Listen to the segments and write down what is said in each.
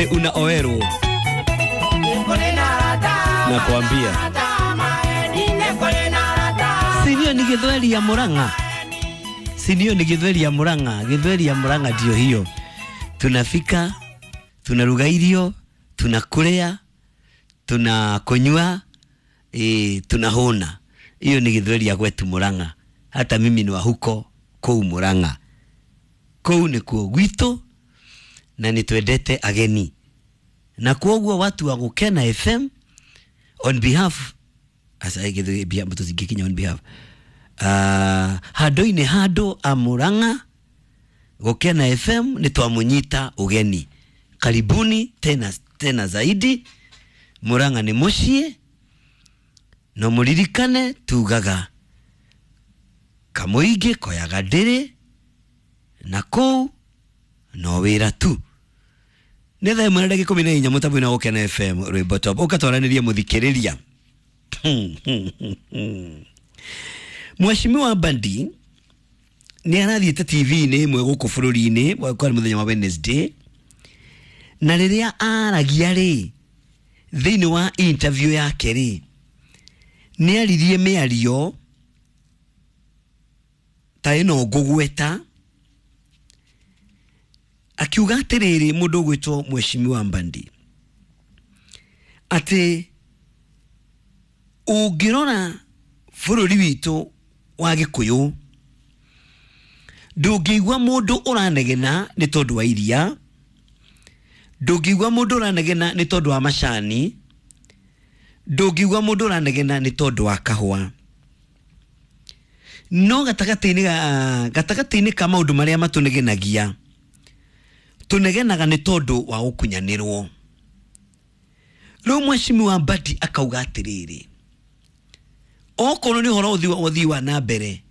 Unaoerwo nakwambia, sinio ni githweri ya Murang'a, sinio ni githweri ya Murang'a. Githweri ya Murang'a ndio hiyo. Tunafika, tunaruga irio, tunakurea, tunakunywa, tunahona. Hiyo ni githweri ya kwetu Murang'a. Hata mimi ni wa huko kuu Murang'a, kuu nikuo gwitũ na nitwendete ageni, na kwoguo watu wa Gukena FM on behalf asa githu tutingikinya on behalf handu-inĩ handũ a Murang'a, Gukena FM nĩ twamunyita ugeni. Karibuni tena tena zaidi. Murang'a nĩ mũciĩ, no mũririkane tugaga kamũingĩ koyaga ndĩrĩ na kũu no wĩra tu. Nĩ thaa 1 na ndagĩka 14 mũtambo-inĩ wa Gukena FM rwĩmbo top ũkatwaranĩria mũthikĩrĩria. Mheshimiwa Mbadi nĩ arathiĩte TV-inĩ ĩmwe gũkũ bũrũri-inĩ kwarĩ mũthenya wa Wednesday, na rĩrĩa aragia rĩ, thĩinĩ wa interview yake rĩ, nĩ aririe mĩario ta ĩno ngũgweta, akiuga atĩrĩrĩ, mũndũ ũgwĩtwo Mheshimiwa Mbadi, atĩ ũngĩrora bũrũri witũ wa Gĩkũyũ ndũngĩigua mũndũ ũranegena nĩ tondũ wa iria, ndũngĩigua mũndũ ũranegena nĩ tondũ wa macani, ndũngĩigua mũndũ ũranegena nĩ tondũ wa kahũa. No gatagatĩ-inĩ ka maũndũ marĩa matũnegenagia, tũnegenaga nĩ tondũ wa gũkunyanĩrwo. Rĩu Mheshimiwa Mbadi akauga atĩrĩrĩ, okorwo nĩ ũhoro ũthii wa na mbere,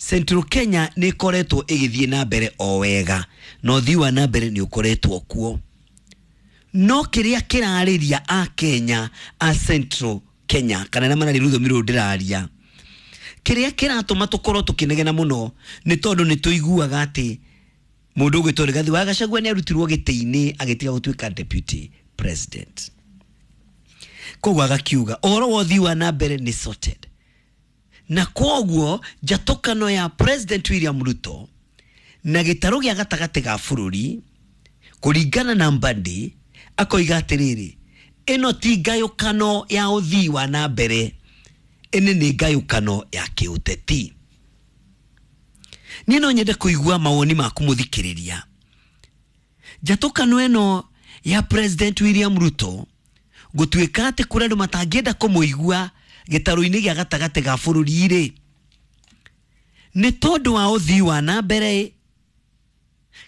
Central Kenya nĩ ĩkoretwo ĩgĩthiĩ na mbere o wega, na ũthii wa na mbere nĩ ũkoretwo kuo, no kĩrĩa kĩrarĩria a Kenya a Central Kenya kana arĩa mararia rũthiomi rũrũ ndĩraria, kĩrĩa kĩratũma tũkorwo tũkĩnegena mũno nĩ tondũ nĩ tũiguaga atĩ mũndũ ũgwĩtwo Rigathi wa Gachagua nĩ arutirwo gĩtĩ-inĩ agĩtiga gũtuĩka deputy president. Koguo agakiuga ũhoro wa ũthii wa na mbere nĩ sorted, na koguo njatũkano ya President William Ruto na gĩtarũ gĩa gatagatĩ ga bũrũri kũringana na Mbadi, akoiga atĩrĩrĩ, ĩno ti ngayũkano ya ũthii wa na mbere, ĩno nĩ ngayũkano ya kĩũteti. Niĩ no nyende kũigua mawoni maku mũthikĩrĩria. Njatũkano ĩno ya President William Ruto gũtuĩka atĩ kũrĩ andũ matangĩenda kũmũigua gĩtarũ-inĩ gĩa gatagatĩ ga bũrũri rĩ, nĩ tondũ wa ũthii wa na mbere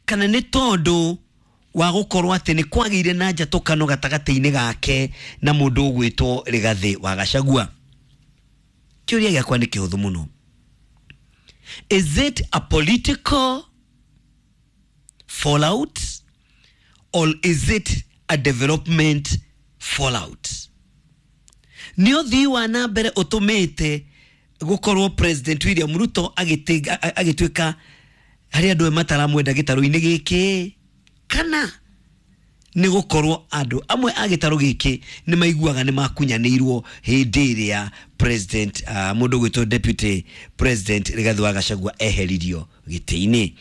kana nĩ tondũ wa gũkorwo atĩ nĩ kwagĩire na njatũkano gatagatĩ-inĩ gake na mũndũ ũgwĩtwo Rigathĩ wa Gachagua? Kĩũria gĩakwa nĩ kĩhũthũ mũno. Is it a political fallout or is it a development fallout? Nĩ ũthii wa na mbere ũtũmĩte gũkorwo President William Ruto agĩtuĩka harĩ andũ mataramwenda gĩtarũ-inĩ gĩkĩ, kana nĩ gũkorwo andũ amwe a gĩtarũ gĩkĩ nĩ maiguaga nĩ makunyanĩirwo hĩndĩ ĩrĩa president mũndũ ũgwĩtwo deputy president Rigathi wa Gachagua eheririo gĩtĩ-inĩ?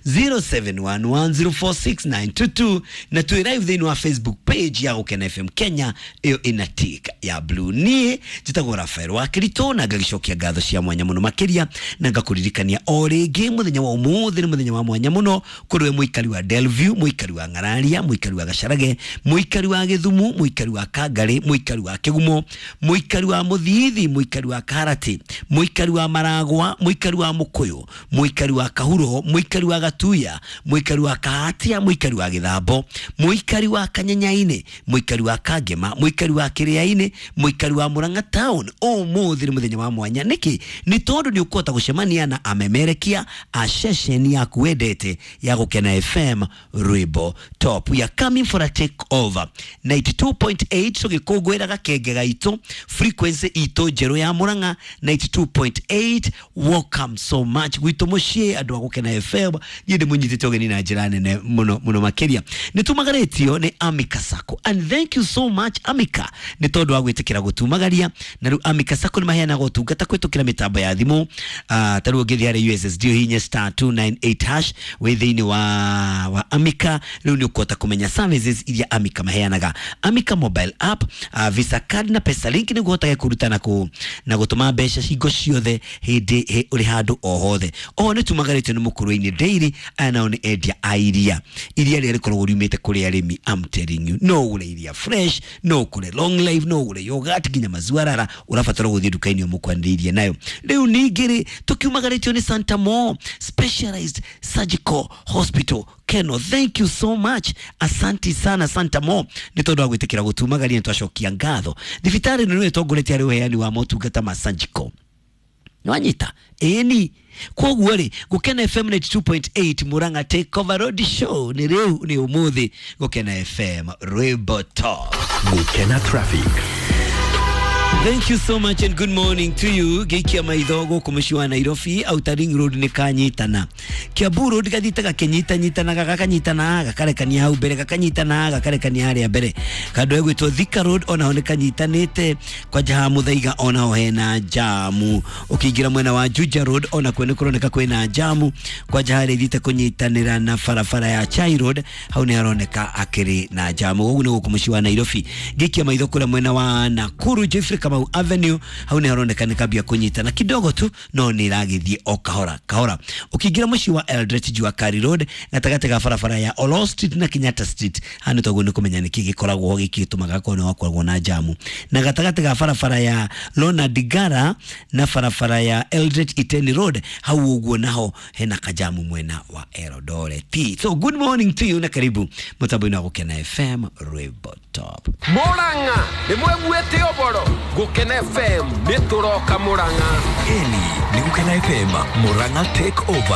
0711046922 na twĩ live thĩinĩ wa Facebook page ya Gukena FM Kenya, ĩyo ĩna tick ya blue. Niĩ njĩtagwo Rafael wa Kirito na ngagĩcokia ngatho cia mwanya mũno makĩria, na ngakũririkania o rĩngĩ mũthenya wa ũmũthĩ nĩ mũthenya wa mwanya mũno kũrĩ we mũikari wa Delview, mũikari wa Ng'araria, mũikari wa Gacharage, mũikari wa Gĩthumu, mũikari wa Kangarĩ, mũikari wa Kĩgumo, mũikari wa Mũthithi, mũikari wa Karati, mũikari wa Maragwa, mũikari wa Mũkũyũ, mũikari wa Kahuro, mũikari wa Gatuya, mũikari wa Kahatia, mũikari wa Gĩthambo, mũikari wa Kanyanyainĩ, mũikari wa Kangema, mũikari wa Kĩrĩainĩ, mũikari wa Murang'a town. Ũmũthĩ nĩ mũthenya wa mwanya. Nĩkĩ? Nĩ tondũ nĩ ũkũhota gũcemania na amemerekia a ceceni yaku wendete ya Gukena FM rwĩmbo top. We are coming for a take over 92.8, tũgĩkũngũĩra gakenge gaitũ, frequency itũ. njerũ ya Murang'a 92.8. Welcome so much gwitũ mũciĩ andũ a Gũkena FM. Niĩ ndĩmũnyitĩte ũgeni na njĩra nene mũno mũno makĩria. Nĩ tumagarĩtio nĩ Amika Sacco, and thank you so much Amika nĩ tondũ wa gwĩtĩkĩra gũtumagaria. Na rĩu Amika Sacco nĩ maheanaga ũtungata kũhĩtũkĩra mĩtambo ya thimũ. Ta rĩu ũngĩthiĩ harĩ USSD ũhihinye star 298 hash wĩ thĩinĩ wa Amika, rĩu nĩ ũkũhota kũmenya services iria Amika maheanaga. Amika mobile app, Visa card na Pesa Link nĩguo ũhotage kũruta na gũtũma mbeca hingo ciothe hĩndĩ ũrĩ handũ o hothe. Oho nĩ tumagarĩtio nĩ Mũkũrwe-inĩ Dairy. Aya nao nĩ endia a iria, iria rĩrĩa rĩkoragwo riumĩte kũrĩ arĩmi. I'm telling you, no ũgũre iria fresh, no ũgũre long life, no ũgũre yogurt, nginya maziwa rara. Ũrabatara gũthiĩ nduka-inĩ ũmũkwanĩrĩirie nayo. Rĩu ningĩ rĩ, tũkiumagarĩtio nĩ Santa Mo Specialized Surgical Hospital Keno. Thank you so much, asanti sana Santa Mo nĩ tondũ wa gwĩtĩkĩra gũtumagaria. Nĩ twacokia ngatho. Thibitarĩ ĩno nĩyo ĩtongoretie harĩ ũheani wa motungata ma surgical. Nĩwanyita ĩni? Koguo rĩ, Gũkena FM 92.8 Murang'a Take Over Road Show nĩ rĩu, nĩ ũmũthĩ. Gũkena FM, rwĩmbo top. Gũkena Traffic. Thank you so much and good morning to you. Gĩikia maitho gũkũ mũciĩ wa Nairobi, Outer Ring Road nĩ kanyitana. Kiambu Road gathiĩte gakĩnyitanyitanaga, gakanyitana gakarekania hau mbere, gakanyitana gakarekania harĩa mbere. Kandũ egwĩtwo Thika Road onaho nĩ kanyitanĩte, kwanja ha Mũthaiga onaho hena jamu. Ũkĩingĩra mwena wa Juja Road onakuo nĩ kũroneka kwĩna jamu, kwanja harĩa ithiĩte kũnyitanĩra na barabara ya Chai Road, hau nĩ haroneka akĩrĩ na jamu. Ũguo nĩ gũkũ mũciĩ wa Nairobi. Ngĩikia maitho kũrĩa mwena wa Nakuru, Jeffrey Kamau Avenue, hau nĩ haroneka nĩ kambia kũnyitana kidogo tu, no nĩ ĩragĩthiĩ o kahora kahora. Ũkĩingĩra mũciĩ wa Eldoret, Jua Kali Road, gatagatĩ ga barabara ya Olo Street na Kenyatta Street, haha nĩ toguo nĩ kũmenya nĩkĩ gĩkoragwo ho gĩkĩ gĩtũmaga korwo nĩ wakoragwo na jamu. Na gatagatĩ ga barabara ya Ronald Ngala na barabara ya Eldoret Iten Road, hau ũguo naho hena kajamu mwena wa Eldoret. So good morning to you na karibu mũtambo-inĩ wa Gũkena FM, rwĩmbo top. Murang'a nĩ mweguĩte ũboro. Gũkena FM nĩ tũroka Murang'a. Ĩni nĩ Gũkena FM Murang'a Take Over.